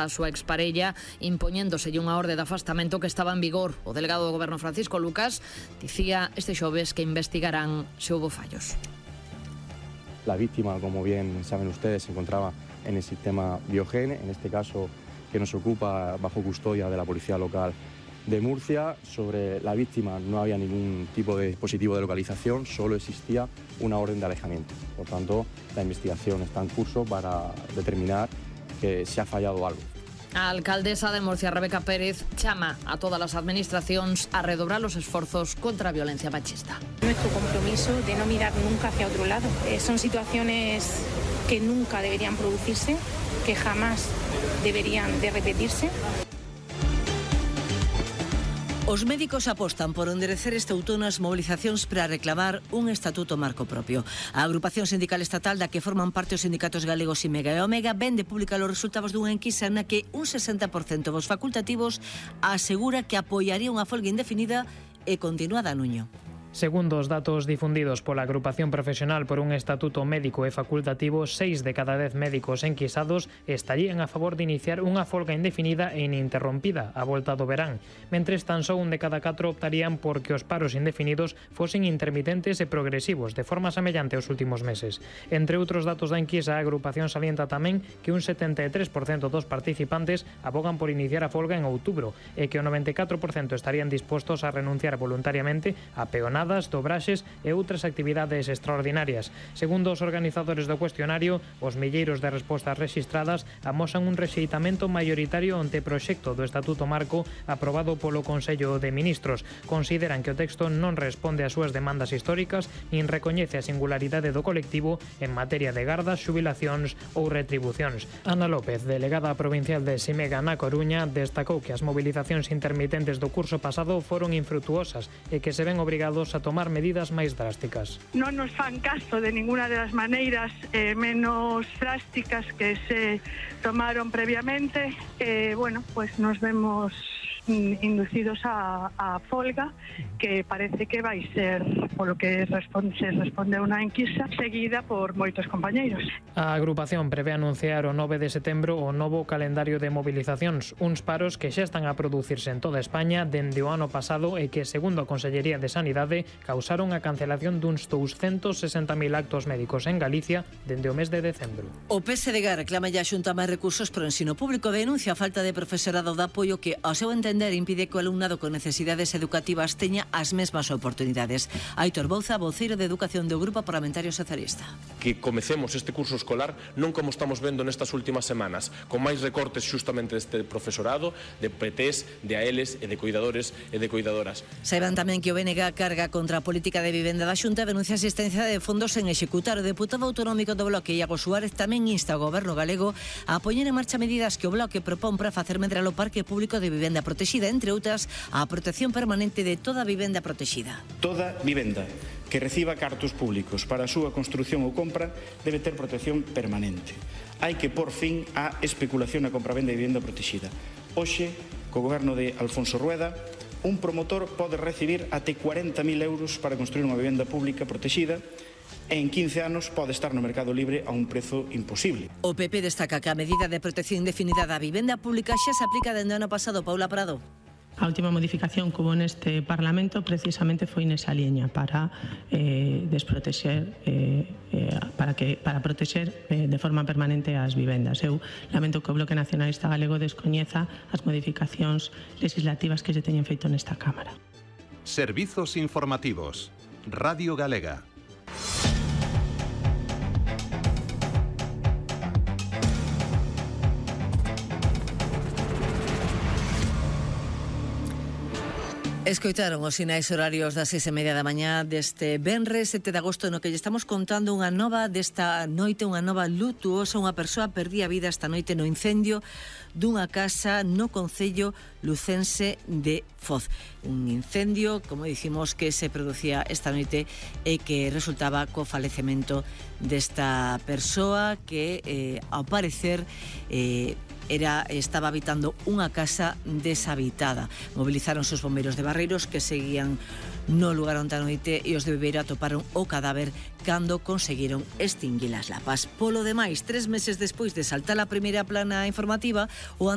a súa exparella, impoñéndoselle unha orde de afastamento que estaba en vigor. O delegado do Goberno Francisco Lucas dicía este xoves que investigarán se houbo fallos. La víctima, como bien saben ustedes, se encontraba en el sistema Biogen, en este caso que nos ocupa bajo custodia de la Policía Local de Murcia. Sobre la víctima no había ningún tipo de dispositivo de localización, solo existía una orden de alejamiento. Por tanto, la investigación está en curso para determinar que se ha fallado algo. A alcaldesa de Murcia, Rebeca Pérez, chama a todas as administracións a redobrar os esforzos contra a violencia machista. Nuestro compromiso de no mirar nunca hacia otro lado. Son situaciones que nunca deberían producirse, que jamás deberían de repetirse. Os médicos apostan por enderecer este outono as mobilizacións para reclamar un estatuto marco propio. A agrupación sindical estatal da que forman parte os sindicatos galegos IMEGA e Omega vende publicar os resultados dunha enquisa na que un 60% dos facultativos asegura que apoiaría unha folga indefinida e continuada a Nuño. Segundo os datos difundidos pola Agrupación Profesional por un Estatuto Médico e Facultativo, 6 de cada 10 médicos enquisados estarían a favor de iniciar unha folga indefinida e ininterrompida a volta do verán, mentres tan só un de cada 4 optarían por que os paros indefinidos fosen intermitentes e progresivos, de forma semellante aos últimos meses. Entre outros datos da enquisa, a agrupación salienta tamén que un 73% dos participantes abogan por iniciar a folga en outubro e que o 94% estarían dispostos a renunciar voluntariamente a peonadas, dobraxes e outras actividades extraordinarias. Segundo os organizadores do cuestionario, os milleiros de respostas rexistradas amosan un rexeitamento maioritario ante o proxecto do Estatuto Marco aprobado polo Consello de Ministros. Consideran que o texto non responde ás súas demandas históricas nin recoñece a singularidade do colectivo en materia de gardas, xubilacións ou retribucións. Ana López, delegada provincial de Simega na Coruña, destacou que as movilizacións intermitentes do curso pasado foron infrutuosas e que se ven obrigados a tomar medidas máis drásticas. Non nos fan caso de ninguna de las maneiras menos drásticas que se tomaron previamente. Pues nos vemos inducidos a folga, que parece que vai ser, polo que se responde a unha enquisa, seguida por moitos compañeiros. A agrupación prevé anunciar o 9 de setembro o novo calendario de movilizacións, uns paros que xa están a producirse en toda España dende o ano pasado e que, segundo a Consellería de Sanidade, causaron a cancelación duns 260.000 actos médicos en Galicia dende o mes de decembro. O PSDG reclama ya a Xunta máis recursos para o ensino público, denuncia a falta de profesorado de apoio que, ao seu entender, impide que o alumnado con necesidades educativas teña as mesmas oportunidades. Aitor Bouza, voceiro de Educación do Grupo Parlamentario Socialista. Que comecemos este curso escolar non como estamos vendo nestas últimas semanas, con máis recortes xustamente deste profesorado, de PTs, de AELs e de cuidadores e de cuidadoras. Saiban tamén que o BNG carga contra a política de vivenda da Xunta, denuncia a existencia de fondos en executar. O deputado autonómico do Bloque, Iago Suárez, tamén insta ao Goberno galego a poñer en marcha medidas que o Bloque propón para facer medrar o parque público de vivenda protexida, entre outras, a protección permanente de toda vivenda protexida. Toda vivenda que reciba cartos públicos para a súa construción ou compra debe ter protección permanente. Hai que por fin a especulación na compra-venda de vivenda protexida. Hoxe, co goberno de Alfonso Rueda, un promotor pode recibir até 40.000 euros para construir unha vivenda pública protexida e en 15 anos pode estar no mercado libre a un prezo imposible. O PP destaca que a medida de protección indefinida da vivenda pública xa se aplica dende o ano pasado. Paula Prado. A última modificación que hubo neste Parlamento precisamente foi nesa liña para desprotexer para protexer de forma permanente as vivendas. Eu lamento que o Bloque Nacionalista Galego descoñeza as modificacións legislativas que se teñen feito nesta Cámara. Servizos informativos. Radio Galega. Escoitaron os sinais horarios das 6:30 da mañá deste venres 7 de agosto, no que lle estamos contando unha nova desta noite, unha nova lutuosa. Unha persoa perdía a vida esta noite no incendio dunha casa no concello lucense de Foz. Un incendio, como dicimos, que se producía esta noite e que resultaba co falecemento desta persoa que, ao parecer, estaba habitando unha casa deshabitada. Movilizaron os bombeiros de Barreiros que seguían no lugar onde a noite e os de Viveiro atoparon o cadáver cando conseguiron extinguir as lapas. Polo demais, 3 meses despois de saltar a primeira plana informativa, o